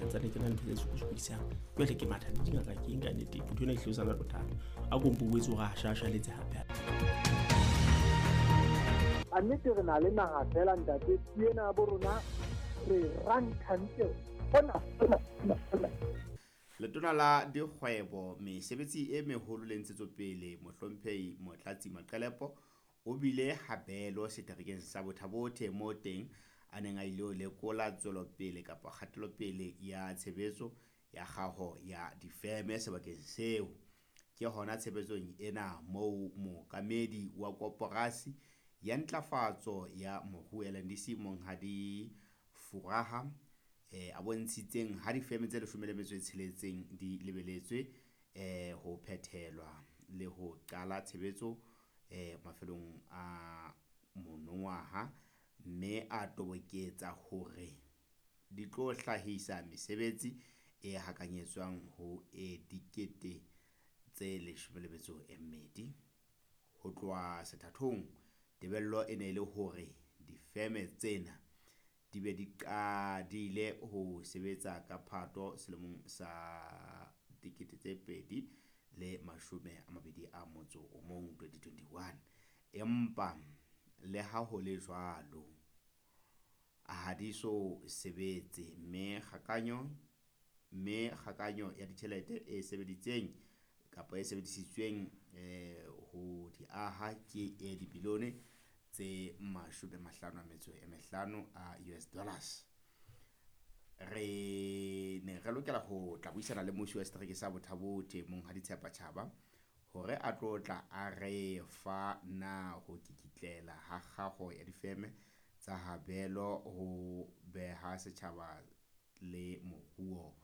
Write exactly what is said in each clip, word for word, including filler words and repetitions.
Santsane ke na le ntho tse sokodisang. Jwale ke matha le dingaka ke eng ka nnete, ntho ena e hlile o sa bothata. A ko mpo boetse hore a shashaletse hape. A nnete re na le naha fela ntate, ena bo rona re ranthantle hona hona hona. Letona la dikgwebo, mesebetsi e meholo le ntshetsopele, Mohlomphehi Motlatsi Maqelepo o bile habelo seterekeng sa Botha-Bothe moo teng a neng a ile ho lekola tswelopele kapa kgatelopele ya tshebetso ya kgaho ya difeme sebakeng seo. Ke hona tshebetsong ena moo mookamedi wa koporasi ya ntlafatso ya moruo L N D C Monghadi Furaha eh, a bontshitseng ha difeme tse leshome le metso e tsheletseng di lebeletswe eh, ho phethelwa le ho qala tshebetso eh, mafelong a monongwaha, mme a toboketsa hore di tlo hlahisa mesebetsi e hakanyetswang ho e dikete tse leshome le metso e mmedi. Ho tloha sethathong, tebello e ne e le hore difeme tsena di be di qadile ho sebetsa ka Phato selemong sa dikete tse pedi le mashome a mabedi a motso o mong, twenty twenty-one. Empa le ha ho le jwalo, ha di so sebetse, mme kgakanyo, mme kgakanyo ya ditjhelete e sebeditseng kapa e sebedisitsweng eh, ho di aha ke e dibilione tse mashome mahlano a metso e mehlano a U S dollars. Re ne re lokela ho tla buisana le mmusi wa setereke sa Botha-Bothe Monghadi Tshepa Tjhaba hore a tlo tla a re fa na ho kikitlela ha kgaho ya difeme tsa habelo ho beha setjhaba le moruo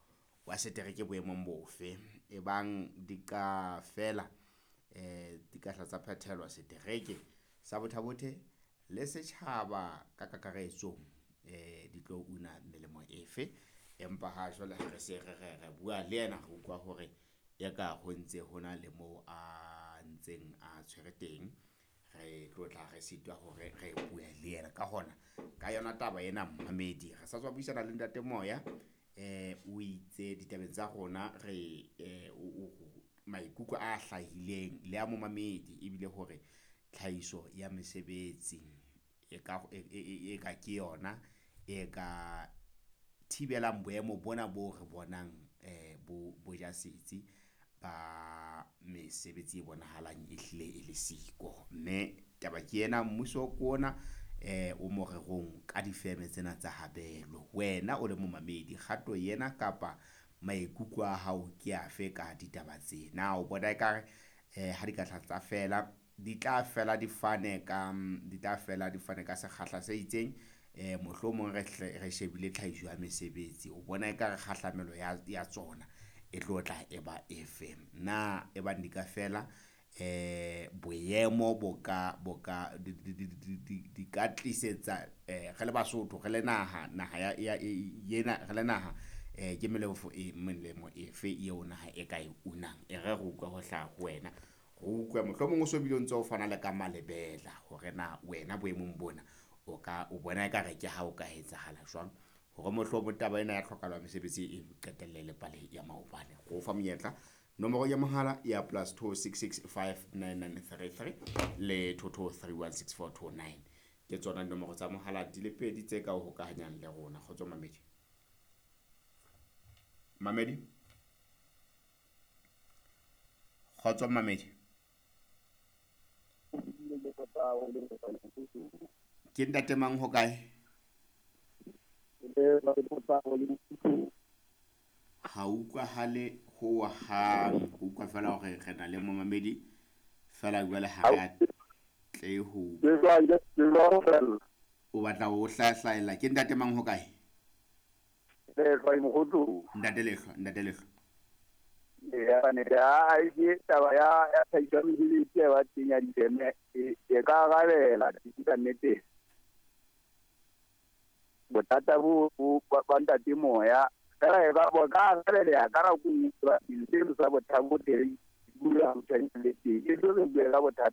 wa setereke boemong bofe. Ebang di ka fela, eh, di ka hla tsa phethelwa setereke sa Botha-Bothe le setjhaba ka kakaretso, eh, di tlo una melemo efe. Empa ha jwale ha re se re re re bua le yena, re utlwa hore ya ka ho ntse hona le moo a ntseng a tshwere teng, re tlo tla re sitwa hore re bue le yena. Ka hona, ka yona taba ena mmamedi, re sa tswa buisana le Ntate Moya, eh, o itse ditabeng tsa rona re, eh, o, o, maikutlo a hlahileng le a momamedi ebile hore tlhahiso ya mesebetsi e ka, e, e, e, e ka ke yona e ka thibelang boemo bona bo re bonang, eh, bo, bo ja setsi ba mesebetsi e bonahalang e hlile e le siko. Mme taba ke ena, mmuso ke ona, eh, o morerong ka difeme tsena tsa habelo. Wena o le momamedi, kgato ena kapa maikutlo a hao ke afe ka ditaba tsena? O bona ekare, eh, ha di ka tla tsa fela, di tla fela di fane ka, di tla fela di fane ka sekgahla se itseng, eh, mohlomong re hle, re shebile tlhahiso ya mesebetsi. O bona ekare kgahlamelo ya, ya tsona e tlo tla e ba efe? Na e bang di ka fela, eh, boemo bo ka, bo ka, di, di, di, di, di, di ka tlisetsa, eh, re le Basotho, re le naha, naha ya, ya, e, ena, re le naha, eh, ke melemo e, melemo efe eo naha e ka e unang? E re re utlwe ho hlaha ho wena. Re utlwe mohlomong o so bile o ntse o fana le ka malebela hore na wena boemong bona o ka, o bona ekare ke ha o ka etsahala jwang hore mohlomong taba ena ya tlhokahalo ya mesebetsi e qetelle le pale ya maobane. Re o fa monyetla, nomoro ya mohala ya plus two six six five nine nine three three le two two three one six four two nine. Ke tsona dinomoro tsa mohala di le pedi tse ka o hokahanyang le rona. Kgotso Mamedi. Mamedi? Kgotso Mamedi. Ke ntate mang ho kae? Ha utlwahale ho hang, ho utlwa fela hore re na le momamedi fela jwale ha re a tle ho. O batla ho hlahlaela. Ke ntate mang ho kae? Ntate Lehlwa, ntate Lehlwa. Ya ne ya ke taba ya ya tlhahiso ya mesebetsi ya ba teng ya difeme e, e ka arabela ka nnete. Bothata bo bo ba Ntate Moya fela e ba bo ka arabela ka nako e nngwe seno sa Botha-Bothe bula ho tshwanetse le teng. E tlo re bue ka bothata